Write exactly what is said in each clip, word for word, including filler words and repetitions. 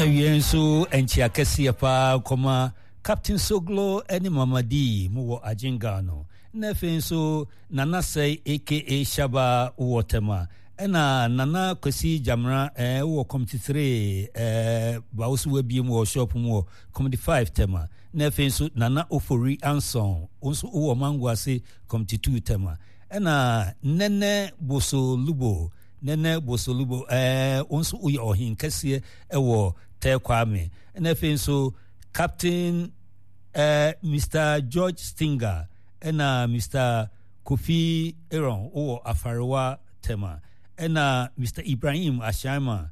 Awie nso nkyia kɛseɛ paa kɔma Captain Soglo ne Mama D mu wɔ Agyenga no. Na afei nso Nana Sɛe aka Shaba wɔ Tema. Ɛna Nana Kwasi Gyamera eh, wɔ Committee three eh, ba wo so wabie mu wɔ shop mu wɔ Committee five Tema. Na afei nso Nana Ofori Anson wo nso wowɔ Mango ase Committee two Tema. Ɛna Nene Boso Lubo Nene Bosolubo ɛɛ wo nso woyɛ ɔhen kɛseɛ ɛwɔ Tɛ Kwame. Ɛna afei nso Captain ɛɛ Mister George Stinger ɛna Mister Kofi Aaron wowɔ Afarewa Tema. Ɛna Mister Ibrahim Ashaima,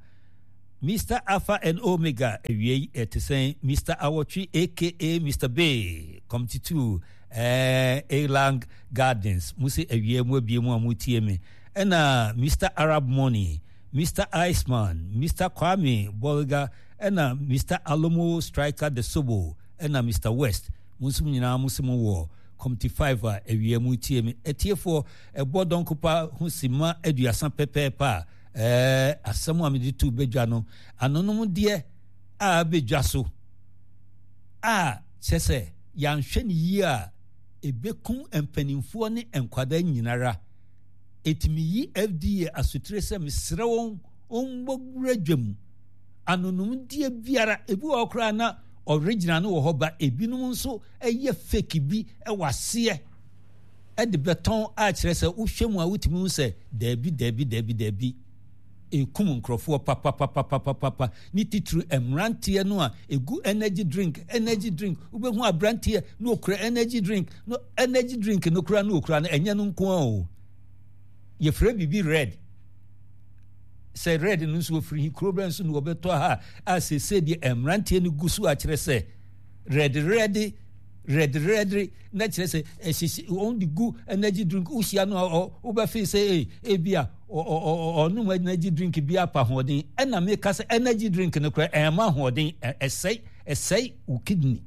Mister Alpha and Omega awiei ɛte sɛn Mister Awɔtwe aka Mister Bay Committee two ɛɛ Elang Gardens mo se awiei mo abie mu a mo tie me. Ɛna Mister Arab Money, Mister Iceman, Mister Kwame Bolga, ɛna Mister Alomo Striker The Sobo, ɛna Mister West. Mo nso mo nyinaa mo se mo wɔ Committee five a awia mu tie me. Atiefoɔ, ɛbɔ dɔnkopa ho simma aduasa pɛpɛɛpɛ a, ɛɛ, asɛm a mede to badwa no, anonom deɛ a abɛdwa so a kyerɛ sɛ yɛanhwɛ no yie a, ɛbɛku mpanimfoɔ ne nkwadaa nyinara. Enti meyi F D A asotire sɛ mesrɛ wɔn wɔmmɔ wura dwam. Anonomdeɛ biara, ebi wɔ hɔ koraa na original no wɔ hɔ ba ebinom nso ɛyɛ fake bi ɛwɔ aseɛ ɛde bɛtɔn a kyerɛ sɛ wohwɛ mu a wotumi hu sɛ daabi daabi daabi daabi ekum nkurɔfoɔ papapapapapa ne titiri mmeranteɛ no a egu energy drink energy drink wobɛhu aberanteɛ na okura energy drink no energy drink no kura no okura no ɛnyɛ no nko ara o. Yɛfrɛ biribi red sɛ red no nso wɔfiri kuro bɛn so na wɔbɛtɔ ha a sese deɛ mmeranteɛ no gu so akyerɛ sɛ red red red red na kyerɛ sɛ ɛhyehyɛ wɔn de gu energy drink. Wohyia no a wobɛfe sɛ ee ebi a ɔnom energy drink bi apa ahoɔden. Ɛna meka sɛ energy drink no koraa ɛma ahoɔden, ɛsɛe ɛsɛe wo kidney.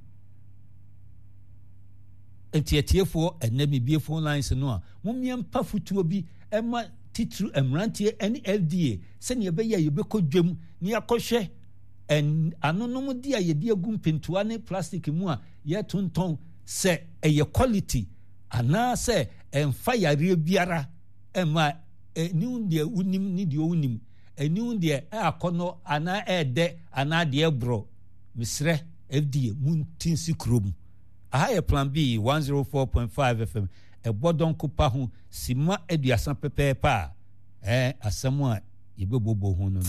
Nti atiefoɔ, ɛnɛ mebie phone lines no a mommea mpa fotuo bi ɛma titiri mmeranteɛ ne F D A sɛnea ɛbɛyɛ a yɛbɛkɔ dwam na yɛakɔhwɛ anonom de a yɛde agu mpentoa ne plastic mu a yɛtontɔn sɛ ɛyɛ quality anaasɛ ɛmfa yareɛ biara ɛma ɛniw deɛ wonim ne deɛ wonim ɛniw deɛ ɛakɔnɔ anaa ɛɛdɛ anaa deɛ ɛborɔ. Mesrɛ F D A mu nti nsi kurom aha yɛ Plan B one oh four point five F M. Ɛbɔ dɔnko pa ho sima aduasa pɛpɛɛpɛ a ɛɛ asɛm a yɛbɛbɔbɔ ho no no.